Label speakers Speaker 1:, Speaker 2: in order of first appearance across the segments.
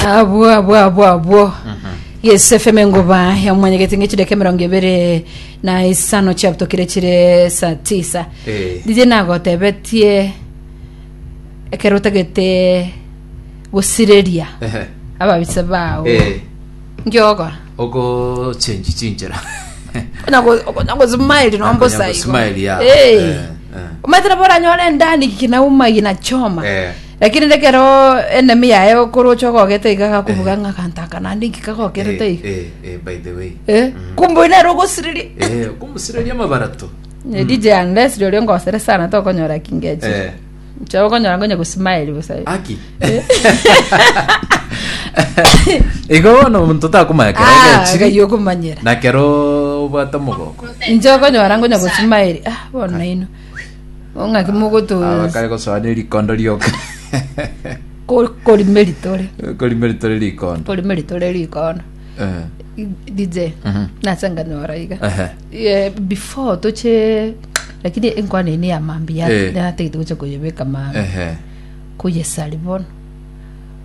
Speaker 1: Abwo abwo abwo abwo. Yes FM engoba ya mwanyegeti ng'echideka emerongo ebere na isano chiabutokire chire saa tisa.
Speaker 2: Eh.
Speaker 1: Ndiche nagotebetie ekero otagete gosireria
Speaker 2: Ehe.
Speaker 1: ababisa bao
Speaker 2: Eh.
Speaker 1: nkiogokora
Speaker 2: Ogo change chinchera.
Speaker 1: Onya go- okonya gosmile nombosa
Speaker 2: Okonya
Speaker 1: igo.
Speaker 2: gosmile, ya.
Speaker 1: Eh.
Speaker 2: Eh, eh.
Speaker 1: Omanyete nabo oranyore endani kinauma ginachoma
Speaker 2: Eh.
Speaker 1: Lakini rekero enemy yaye okorocha ogogete iga gakobuga ng'a aganto aka naende inki kagokerete
Speaker 2: Eh,
Speaker 1: iga.
Speaker 2: eh, eh, by the way.
Speaker 1: Eh, kumbe oyo nere ogosiriria.
Speaker 2: Eh, okomusiriria amabarato.
Speaker 1: Eh, DJ unless rirorio ngosere sana tokonyora kingechi.
Speaker 2: Eh.
Speaker 1: Nche okonyora nkonya gosmile bosa.
Speaker 2: Aki. Igo bono omonto takomanya kero
Speaker 1: Ah,
Speaker 2: egechiri
Speaker 1: ng'ai okomanyera.
Speaker 2: na kero obwate omogoko.
Speaker 1: Inche okonyora nkonya gosmile. Ah, bono nainwe. Ng'aki mogoto
Speaker 2: Abakare gosoa ne rikondo rioka.
Speaker 1: ko- korimeri tore
Speaker 2: Korimeri tore rikondo.
Speaker 1: korimeri tore rikondo
Speaker 2: Eh.
Speaker 1: DJ
Speaker 2: Mhm.
Speaker 1: nase nkanyora iga
Speaker 2: Ehe.
Speaker 1: Eh, before toche lakini enkwana eye ya mambia
Speaker 2: Eh.
Speaker 1: natagete gocha koyebeka mambia
Speaker 2: Ehe.
Speaker 1: koyesari bono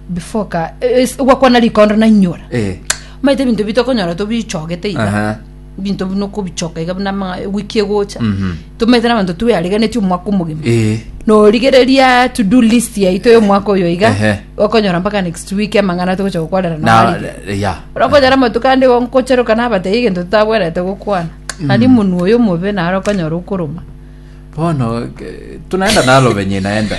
Speaker 1: before ka eh, eh, gwakwana rikondo nainyora
Speaker 2: Eh.
Speaker 1: maete ebinto bitokonyora tobichogete iga
Speaker 2: Aha.
Speaker 1: ebinto buna okobichoka iga buna amang'a ewiki egocha
Speaker 2: Mhm.
Speaker 1: tomaete na abanto tweariganetie omwaka omogima
Speaker 2: Eh.
Speaker 1: norigereria to do list yaito ya omwaka oyo iga
Speaker 2: Ehe.
Speaker 1: okonyora mpaka next week amang'ana togocha gokwarera
Speaker 2: Na
Speaker 1: noarige
Speaker 2: ya.
Speaker 1: orokonyora amatuko ande igo nkocheroka nabatebia egento totabwenerete gokwana nari omonwa oyo omobe naro okonyora okoroma
Speaker 2: Bono eh, tunaenda nalo venye inaenda.